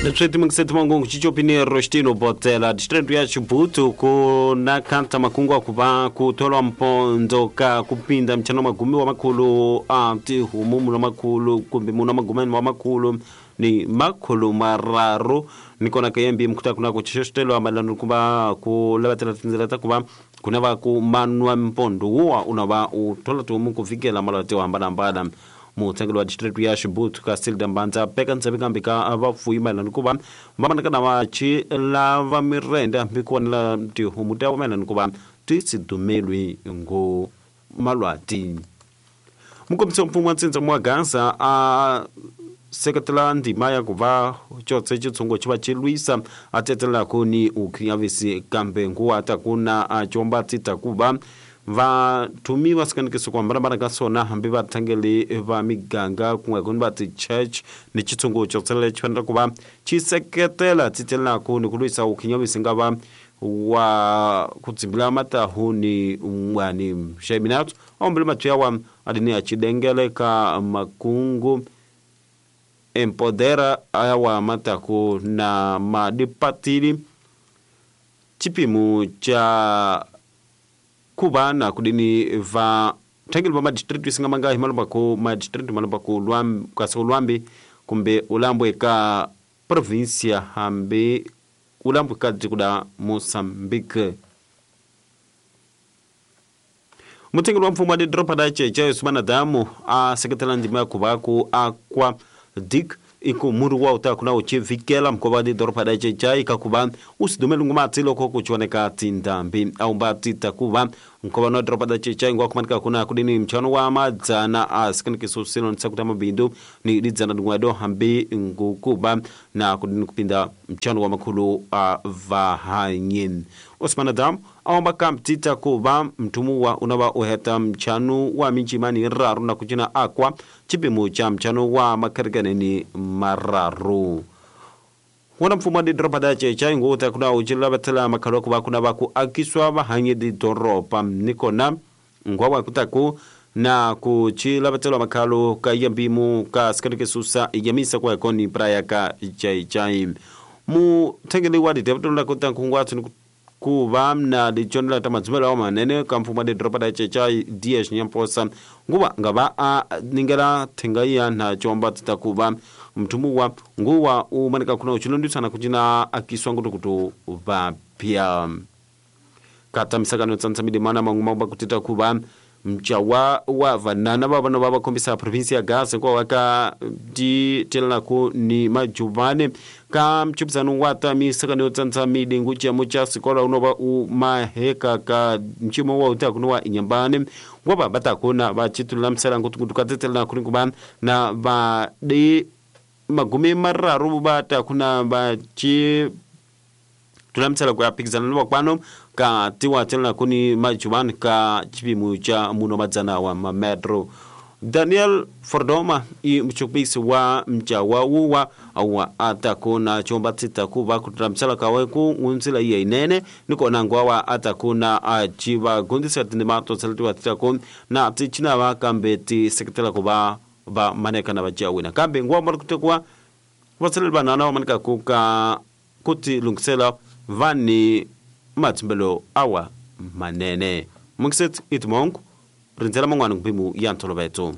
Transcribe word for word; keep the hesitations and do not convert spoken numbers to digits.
Leswi mungiseti mangungu chichopini Rostino Botela district ya Chibutu ku na kanta makungu akuva kutholwa mpondo ka kupinda mchano magumi wa makhulu a tihumu muno makhulu kumbe muno magumeni wa makhulu ni makhulu mararu nikona kayembi mkuta kuna kuchishostelwa malano kuba kulabatela tinzela takuba kuna va ku manwa mpondo wa unava uthola tihumu kuvikela malwate wa hambana-hambana. Mutengelo wa district ya Chibutu ka Silda Mbanza peka ntsebe kambi ka vafuyi mayelana kuva va manakana va chi lava mirenda mikuwanela tihumu ta mayelana kuva ti sidumelwi ngo malwati. Mukombisi wa mfumo wa Ntsindza Mwangaza a seketela ndima ya kuva chotse chitsungo chiva chilwisa a tetela kuni ukhinyavisi kambe nguwa takuna a chomba tita kuva va tumiwa sikanikiso kwa mbarabara ka sona hambi va thangeli va miganga kun'we kuni va ti-church ni chitsungu chotsele chi fanele ku va xi seketela titelelaku ni ku lwisa ukhinyavisi nga va wa ku tsimbila matahu ni un'wani xeminatso aombele mathu yawa adini ya chidengele ka makungu empodera ayawa mataku na madipatili chipimu cha kuba na kudini va thangeli va madistrict singa manga hi malomba ku madistrict malomba ku lwambi kasi lwambi kumbe ulambwe ka provincia hambi ulambwe ka tikuda Mozambique. Mutengeli wa mfumo wa didropa da cheche Sumana Damu a seketela ndima ya kuva ku akwa dik iku muru wa uta kuna uchivikela mkova didropa da cheche ikakuva usidumelu ngumati loko kuchoneka tindambi au mbati takuva mkova no dropa da cheche ngwa kumanika kuna kudini mchano wa madzana asikanike sino nsakuta mabindu ni lidzana ngwado hambi ngukuba na kudini kupinda mchano wa makulu a vahanyin. Osman Adam aomba kamtita kuva mtumuwa unava uheta mchano wa minchimani raru na kuchina akwa chipimu cha mchano wa makarganeni mararu. Wana mfumo di dropa da checha nguta kuna ujila batela makalo kuba kuna baku akiswa bahanyi di doropa nikona ngwa kutaku na kuchila batela makalo ka yambimu ka skanike susa yamisa kwa koni praya ka chai mu tengeli wa di debtola kuta kungwa tunu kuva na di chonela tamadzumela wa manene ka mfumo di dropa da checha D H nyamposa nguva ngava a ningela thenga na chomba titakuva mtumuwa nguwa umanika kuna uchilondisana kuchina akiswa ngutu vapya kata misakano tsantsambili mana manguma kutita kuva mchawa wa vanana vavana va vakombisa provinsi ya Gaza kwa waka di telako ni majuvane ka mchupizano wa ta misakano tsantsambili ngucha mucha sikola unova u maheka ka mchimo wa uta kunowa inyambane ngwaba batakona vachitulula msela ngutu katetela kurinkuba na va di magumi mararu bata kuna bachi tulamtsela kwa pikizana lwa kwano ka tiwa tela kuni majuban ka chipimu cha muno madzana wa mametro. Daniel Fordoma i mchukbisi wa mchawa uwa awa atakuna chomba titakuva kutulamtsela kaweku unzila iye inene niko nangwa atakuna achiva gundisa tindimato tseltiwa titaku na tichina wa kambe ti sekretela kuba ba maneka na bajawina kambe ngwa mara kutekwa vatsele banana wa maneka kuka kuti lungisela vani mathimbelo awa manene mungiset itmongo rindzela man'wana mpimu ya ntolovelo.